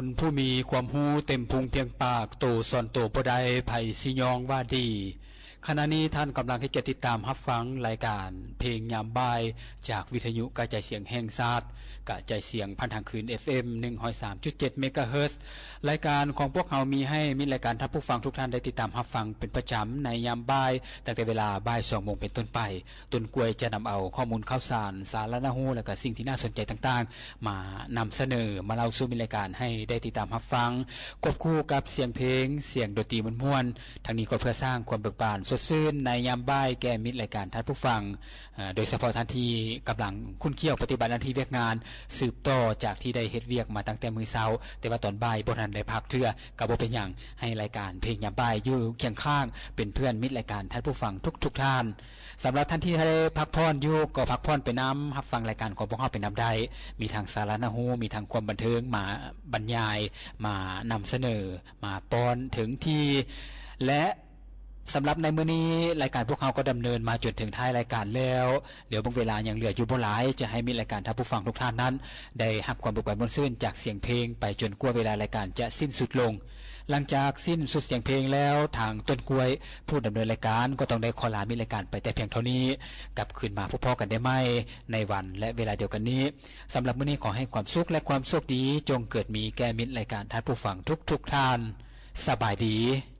ຄົນຜູ້ມີຄວາມຮູ້ເຕັມພຸງພຽງປາກ, ໂຕສອນໂຕບໍ່ໄດ້, ໃຜຊິຍ້ອງວ່າດີ. ຂະນະນີ້ທ່ານກຳລັງໃຫ້ກຽດຕິດຕາມຮັບຟັງລາຍການເພງຍາມບ່າຍ ຈາກວິທະຍຸກະຈາຍສຽງແຫ່ງຊາດ, ກະຈາຍສຽງຜ່ານທາງຄື້ນ ເອັຟເອັມ ໜຶ່ງຮ້ອຍສາມຈຸດເຈັດ ເມກາເຮີດ. ລາຍການຂອງພວກເຮົາມີໃຫ້ມິດລາຍການທ່ານຜູ້ຟັງທຸກທ່ານໄດ້ຕິດຕາມຮັບຟັງເປັນປະຈຳໃນຍາມບ່າຍ, ຕັ້ງແຕ່ເວລາບ່າຍສອງໂມງເປັນຕົ້ນໄປ. ຕົ້ນກ້ວຍຈະນຳເອົາຂໍ້ມູນຂ່າວສານ, ສາລະໜ້າຮູ້ ແລະ ກະສິ່ງທີ່ໜ້າສົນໃຈຕ່າງໆ ມານຳສະເໜີ, ມາເລົ່າສູ່ມິດລາຍການໃຫ້ໄດ້ຕິດຕາມຮັບຟັງ, ຄວບຄູ່ກັບສຽງເພງ, ສຽງດົນຕີມ່ວນໆ. ທັງນີ້ກໍເພື່ອສ້າງຄວາມເບີກບານສົດຊື່ນໃນຍາມບ່າຍແກ່ມິດລາຍການທ່ານຜູ້ຟັງ, ເອີ ໂດຍສະເພາະທ່ານທີ່ກຳລັງຂຸ້ນຂ້ຽວປະຕິບັດໜ້າທີ່ວຽກງານ ສືບຕໍ່ຈາກທີ່ໄດ້ເຮັດວຽກມາຕັ້ງແຕ່ມື້ເຊົ້າ, ແຕ່ວ່າຕອນບ່າຍບໍ່ທັນໄດ້ພັກເທື່ອ, ກໍບໍ່ເປັນຫຍັງ, ໃຫ້ລາຍການເພງຍາມບ່າຍຢູ່ຄຽງຂ້າງເປັນເພື່ອນມິດລາຍການທ່ານຜູ້ຟັງທຸກໆທ່ານ. ສຳລັບທ່ານທີ່ໄດ້ພັກຜ່ອນຢູ່ ກໍພັກຜ່ອນໄປນຳ, ຮັບຟັງລາຍການຂອງພວກເຮົາໄປນຳໄດ້. ມີທັງສາລະໜ້າຮູ້, ມີທັງຄວາມບັນເທີງມາບັນຍາຍ, ມານຳສະເໜີ, ມາປ້ອນເຖິງທີ່ ແລະ ສຳລັບໃນມື້ນີ້ ລາຍການພວກເຮົາກໍດຳເນີນມາຈົນເຖິງທ້າຍລາຍການແລ້ວ. ເຫຼືອເບິ່ງເວລາຍັງເຫຼືອຢູ່ບໍ່ຫຼາຍ, ຈະໃຫ້ມິດລາຍການທ່ານຜູ້ຟັງທຸກທ່ານນັ້ນ ໄດ້ຮັບຄວາມເບີກບານມ່ວນຊື່ນຈາກສຽງເພງໄປຈົນກວ່າເວລາລາຍການຈະສິ້ນສຸດລົງ. ຫຼັງຈາກສິ້ນສຸດສຽງເພງແລ້ວ, ທາງຕົ້ນກ້ວຍ ຜູ້ດຳເນີນລາຍການ ກໍຕ້ອງໄດ້ຂໍລາມິດລາຍການໄປແຕ່ພຽງເທົ່ານີ້. ກັບຄືນມາພົບພໍ້ກັນໄດ້ໃໝ່ໃນວັນ ແລະ ເວລາດຽວກັນນີ້. ສຳລັບມື້ນີ້ ຂໍໃຫ້ຄວາມສຸກ ແລະ ຄວາມໂຊກດີຈົ່ງເກີດມີແກ່ມິດລາຍການທ່ານຜູ້ຟັງທຸກໆທ່ານ. ສະບາຍດີ.